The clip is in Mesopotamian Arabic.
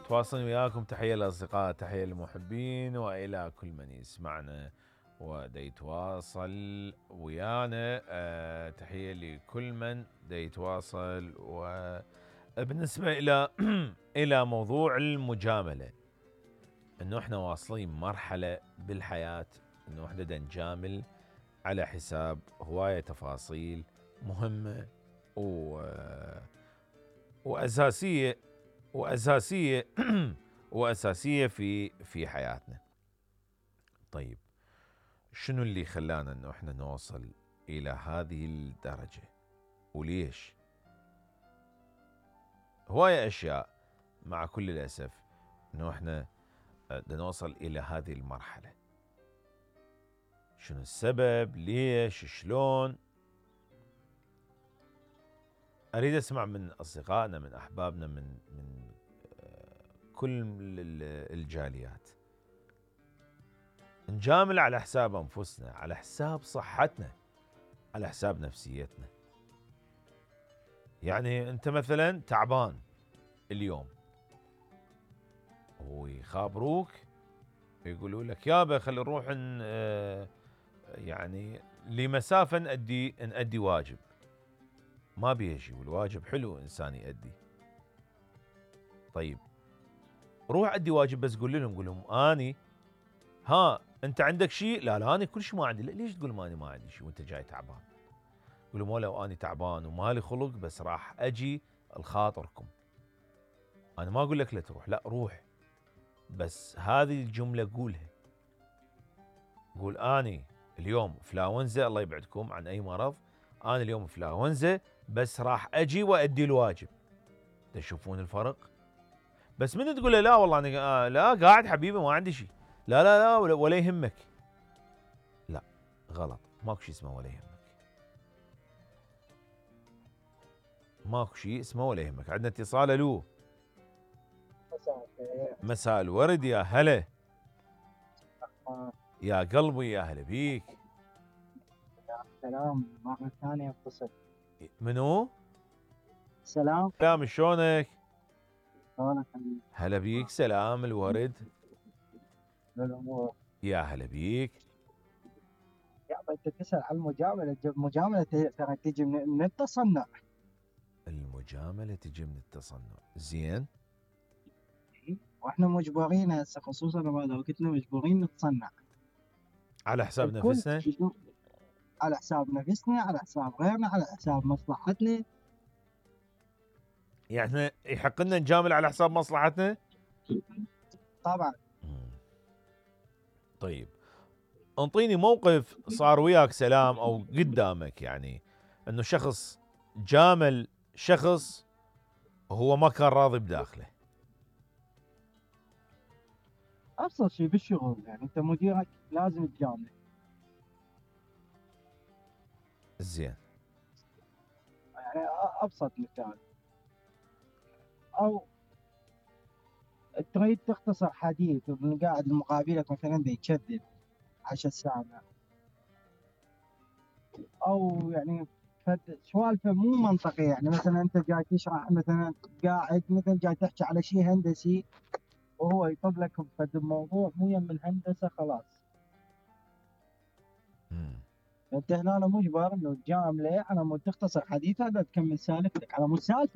تواصل وياكم. تحية للأصدقاء، تحية للمحبين، وإلى كل من يسمعنا ودا يتواصل ويانا. تحية لكل من دا يتواصل. وبالنسبة إلى إلى موضوع المجاملة، إنه إحنا واصلين مرحلة بالحياة إنه إحنا دا نجامل على حساب هواية تفاصيل مهمة وأساسية وأساسية في حياتنا. طيب، شنو اللي خلانا إنه إحنا نوصل إلى هذه الدرجة وليش؟ هواية أشياء، مع كل الأسف إنه إحنا بدنا نوصل إلى هذه المرحلة. شنو السبب؟ ليش؟ شلون؟ أريد أسمع من أصدقائنا، من أحبابنا، من كل الجاليات. نجامل على حساب أنفسنا، على حساب صحتنا، على حساب نفسيتنا. يعني أنت مثلا تعبان اليوم ويخابروك يقولوا لك يابا خلي نروح يعني لمسافة نأدي واجب. ما بيجي، والواجب حلو إنسان يأدي. طيب روح أدي واجب، بس قول لهم أني أنت عندك شيء؟ لا أنا كل شيء ما عندي. لا، ليش تقول ما عندي شيء وأنت جاي تعبان؟ قول لهم ولو أني تعبان ومالي خلق، بس راح أجي الخاطركم. أنا ما أقول لك لا تروح، لا روح، بس هذه الجملة قولها. قول أني اليوم فلاونزا، الله يبعدكم عن أي مرض، أنا اليوم فلاونزا بس راح أجي وأدي الواجب. تشوفون الفرق؟ بس من تقول له لا والله أنا لا قاعد حبيبي ما عندي شيء، لا ولا يهمك. لا، غلط. ماكو شيء اسمه ولا يهمك. ماكو شيء اسمه ولا يهمك. عندنا اتصال. الو، مساء الورد، يا هلا يا قلبي، يا هلا بيك. سلام، مرة ثانية اتصل. منو؟ سلام، شلونك؟ شلونك؟ هلا بيك، سلام الورد. الأمور. يا هلا بيك. يا انت تسأل عن المجاملة. المجاملة ترى تجي من التصنع. المجاملة تجي من التصنع. زين. واحنا مجبورين هسه، خصوصا بهذا وقتنا مجبورين نتصنع على حساب الكل. نفسنا، على حساب نفسنا، على حساب غيرنا، على حساب مصلحتنا. يعني احنا يحق لنا نجامل على حساب مصلحتنا؟ طبعا. طيب انطيني موقف صار وياك سلام او قدامك، يعني انه شخص جامل شخص وهو ما كان راضي بداخله. ابسط شيء بالشغل، يعني انت مديرك لازم تجامله. زين. يعني ابسط مثال. او تريد تختصر حديث وقاعد مقابلك مثلا يتشدد 10 ساعة، او يعني سوالفه مو منطقيه. يعني مثلا انت جاي تشرح، مثلا قاعد مثلا جاي تحكي على شيء هندسي وهو يطب لك بفد الموضوع مو يم الهندسه، خلاص انت هنا مجبر انه تجامله على مود تختصر حديثه، هذا تكمل سالفتك على مود سالفه.